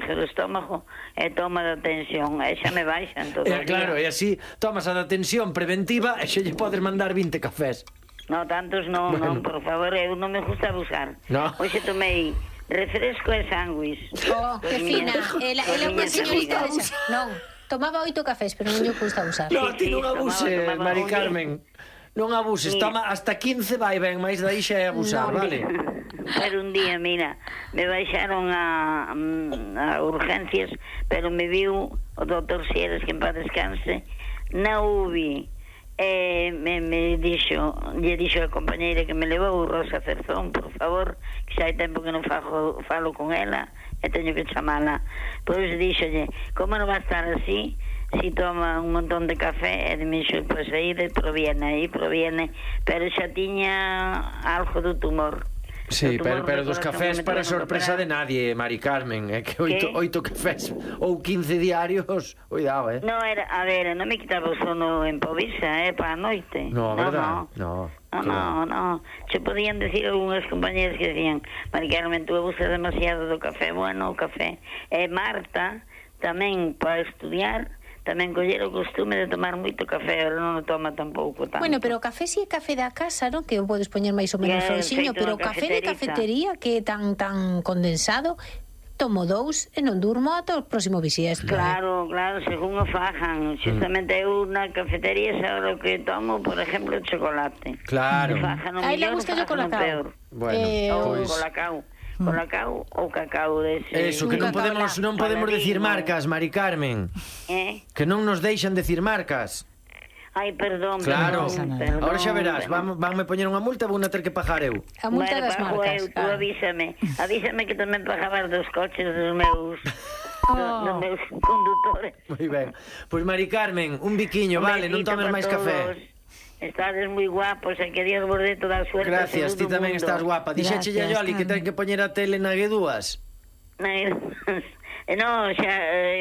o estómago e toma da tensión, e xa me baixan todo o día. Claro, e así tomas a da tensión preventiva e xa lle podes mandar 20 cafés. No, tantos non, Bueno. non, por favor, eu non me gusta abusar. No. Hoxe tomei refresco e sándwich. Oh, que fina. Ela é unha señorita de non, tomaba 8 cafés, pero non lle gusta usar. No, Sí, ti non abuses, tomaba Mari un Carmen. Non abuses, Sí. toma hasta 15 vai ben, máis daí xa é abusar, No, vale? Pero un día, mira, me baixaron a urgencias, pero me viu o doutor Sieres, que en paz descanse, na UBI. Me dixo, lle dixo a compañeira que me levou, Rosa Cerzón, por favor, que xa hai tempo que non falo con ela e teño que chamala. Pois dixolle, como non va a estar así si toma un montón de café? E dixo, pois aí proviene, pero xa tiña algo do tumor. Sí, O tumor pero do dos corazón cafés que me para tiveron que sorpresa operar. de nadie, Mari Carmen. É que ¿Qué? 8 cafés ou 15 diarios, cuidado, No, era, a ver, non me quitaba o sono en Povisa, para a noite. No, verdad? No. No. Se podían decir algunhas compañeras que decían, Mari Carmen, tú abusas demasiado do café. Bueno, o café. Marta, tamén para estudiar, tamén coller o costume de tomar moito café, ahora non o toma tampouco tanto. Bueno, pero o café si é café da casa, non? Que o podes poñer máis ou menos frouxiño, feito pero o na café de cafeteriza. cafetería que é tan condensado, tomo 2 e non durmo ata o próximo bisiesto. Claro, según o fajan. Justamente eu na cafetería xa o que tomo, por exemplo, chocolate. Claro. O fajan o A ela mellor, gusta o o fajan o colacao. peor. Bueno, Ou pois colacao ou cacao dese. eso, que non podemos decir marcas, Mari Carmen. Que non nos deixan decir marcas. Ai, perdón, Claro. perdón. Ahora xa verás, vanme poñer unha multa, vou na ter que pagar eu. A multa das pago marcas. eu, tú avísame que tamén pagabas dos coches dos meus dos meus condutores. Moi ben. Pois Mari Carmen, un biquiño, vale, non tomes máis café. Estades moi guapos, e que Dios vos dé toda a suerte. Gracias, ti tamén estás guapa. Dixeche a Yoli que ten que poñer a tele na G2. No, xa,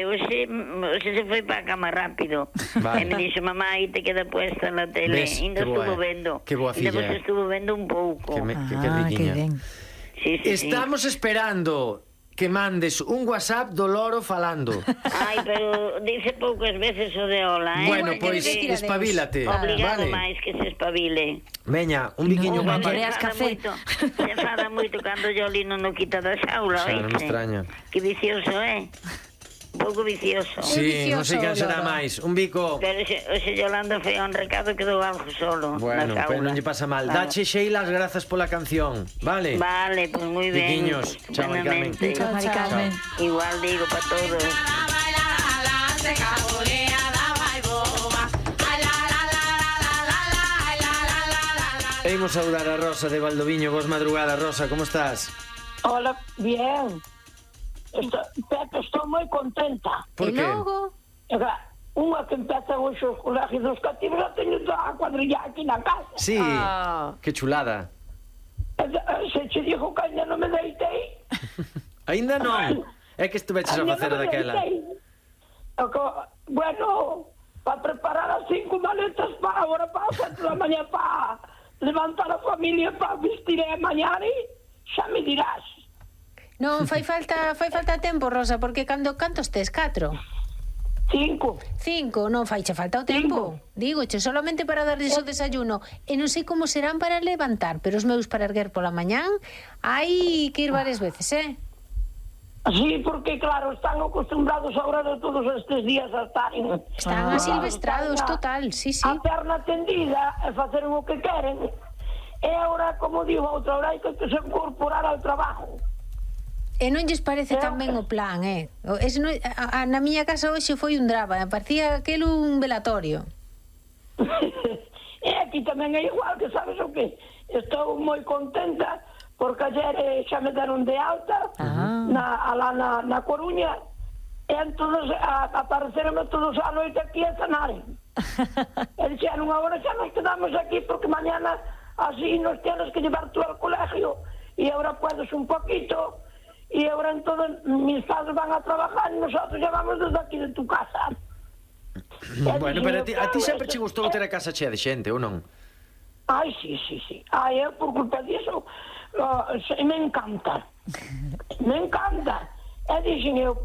hoxe se foi para a cama rápido. Vale. E me dixo, mamá, aí te queda puesta na tele. Ves, Ainda que boa estuvo é. vendo. Que boa filla Ainda é. vos estuvo vendo un pouco. Que riquiña. Sí. Estamos esperando que mandes un WhatsApp do loro falando. Ai, pero dice poucas veces o de hola, Bueno, Igual pois que decir adeus. espabilate. Obrigado Vale. máis que se espabile. Veña, un biquiño No, guapa. Andrea. café. Se enfada moito cando Yoli non o quita da xaula, Xa, non me oíste? extraña. Que vicioso, Un pouco vicioso. Sí, non sei quen vicioso, será Loro. máis. Un bico. Pero xe Yolanda foi a un recado que dou algo solo Bueno, na pero xaula. non lle pasa mal. Claro. Dache Sheila as grazas pola canción, vale? Vale, pues moi ben. Biquiños. Chao, Mari Carmen. Buenamente. Chao, Mari Carmen. Igual digo para todos. E imos saudar a Rosa de Valdoviño. Vos madrugada, Rosa, como estás? Hola, bien. Pepe, estou moi contenta. Por E que? logo, Unha que empeza hoxe os colegios dos cativos, a teño toda a cuadrilla aquí na casa. Sí, que chulada. Se che dijo que ainda non me deitei. Aínda non. É que estuveches a facer daquela. Bueno, para preparar as 5 maletas para agora, para as 7 da mañá, para levantar a familia, para vestir a mañana, xa me dirás. non fai falta tempo, Rosa, porque cantos tes? 4? 5. 5, non faiche falta o tempo. Dígoche, solamente para darles o desayuno. E non sei como serán para levantar, pero os meus para erguer pola mañán hai que ir varias veces, Sí, porque claro, están acostumbrados agora de todos estes días a estar Están asilvestrados, total, sí. a perna tendida e facer o que queren. E agora, como digo, outra hora hai que se incorporar ao trabajo. E non lles parece tan ben o plan, na miña casa hoxe foi un drama, parecía aquel un velatorio. E aquí tamén é igual, que sabes o que? Estou moi contenta porque ayer xa me deron de alta alá na Coruña, e entón apareceronme todos a noite aquí a cenar. E dixeron, agora xa nos quedamos aquí porque mañana así nos tienes que llevar tú al colegio e agora puedes un poquito. Y ahora entonces mis padres van a trabajar y nosotros ya vamos desde aquí de tu casa. Bueno, pero a ti sempre che gustou ter a casa chea de xente, ou non? Ai, sí. Ai, por culpa disso me encanta. Me encanta. E dixen eu,